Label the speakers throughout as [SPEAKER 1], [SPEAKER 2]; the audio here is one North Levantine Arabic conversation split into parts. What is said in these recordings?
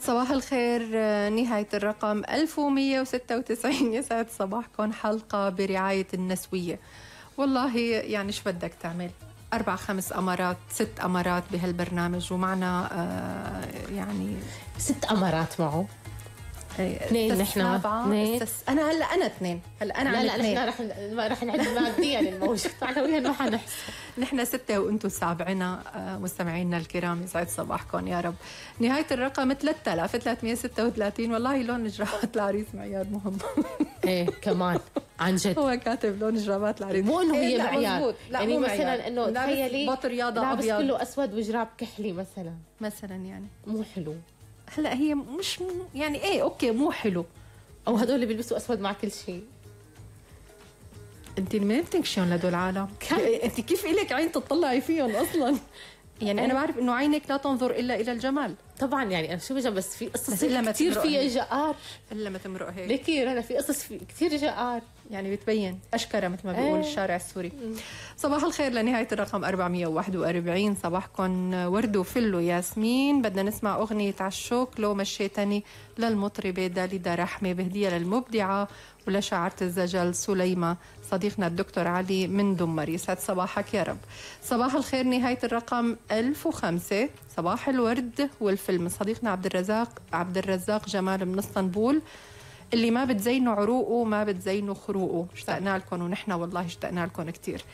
[SPEAKER 1] صباح الخير. نهاية الرقم 1196. يسعد صباحكم. حلقة برعاية النسوية. والله يعني شو بدك تعمل؟ 4-5 أمارات 6 أمارات بهالبرنامج، ومعنا يعني
[SPEAKER 2] 6 أمارات معه. 2 نحن.
[SPEAKER 1] أنا هلا 2. هلا أنا
[SPEAKER 2] لا نحن رح نعد ماديا الموجود معنويا ما حنحسب.
[SPEAKER 1] نحن 6 وأنتم 7. مستمعينا الكرام يسعد صباحكم يا رب. نهاية الرقم 3336. والله لون جرابات العريس معيار مهم.
[SPEAKER 2] ايه كمان عن جد
[SPEAKER 1] هو كاتب لون جرابات العريس،
[SPEAKER 2] مو انه هي معيار.
[SPEAKER 1] يعني
[SPEAKER 2] مثلا انه تخيلي
[SPEAKER 1] بط رياضة
[SPEAKER 2] لابس
[SPEAKER 1] أبيض
[SPEAKER 2] كله اسود وجراب كحلي مثلا
[SPEAKER 1] يعني
[SPEAKER 2] مو حلو.
[SPEAKER 1] هلا هي مش يعني ايه اوكي مو حلو،
[SPEAKER 2] او هدول اللي بيلبسوا اسود مع كل شيء.
[SPEAKER 1] انت منين بتنكشون لدول العالم؟ انت كيف إلك عين تطلعي فيهم اصلا؟ يعني انا بعرف انه عينك لا تنظر الا الى الجمال
[SPEAKER 2] طبعا. يعني انا شو بجنب بس في قصص
[SPEAKER 1] إلا
[SPEAKER 2] كثير فيها جآر.
[SPEAKER 1] الا ما تمرق هيك
[SPEAKER 2] ليكي انا في قصص كثير جآر،
[SPEAKER 1] يعني بتبين اشكره مثل ما بيقول الشارع السوري. صباح الخير لنهايه الرقم 441. صباحكم ورد وفل وياسمين. بدنا نسمع اغنيه عالشوك لو مشيتني للمطربه داليدا رحمه، بهديه للمبدعه ولشاعرة الزجل سليمة صديقنا الدكتور علي من دمر. يسعد صباحك يا رب. صباح الخير نهاية الرقم 1005. صباح الورد والفيلم صديقنا عبد الرزاق جمال من اسطنبول، اللي ما بتزينوا عروقه ما بتزينوا خروقه. اشتقنا لكم ونحن والله اشتقنا لكم كتير.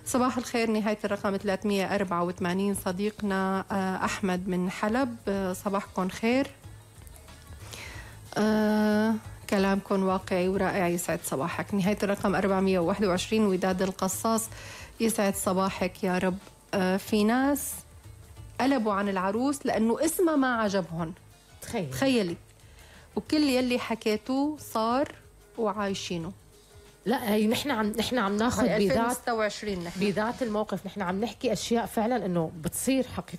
[SPEAKER 1] صباح الخير نهاية الرقم 384. صديقنا أحمد من حلب. صباحكم خير. كلامكم واقعي ورائع. يسعد صباحك. نهاية الرقم 421. وداد القصاص. يسعد صباحك يا رب. في ناس قلبوا عن العروس لأنه اسمها ما عجبهم. تخيلي. وكل يلي حكيتوه صار وعايشينه.
[SPEAKER 2] لا هي نحن عم ناخذ
[SPEAKER 1] بذات 26
[SPEAKER 2] بذات الموقف. نحن عم نحكي اشياء فعلا انه بتصير حقيقة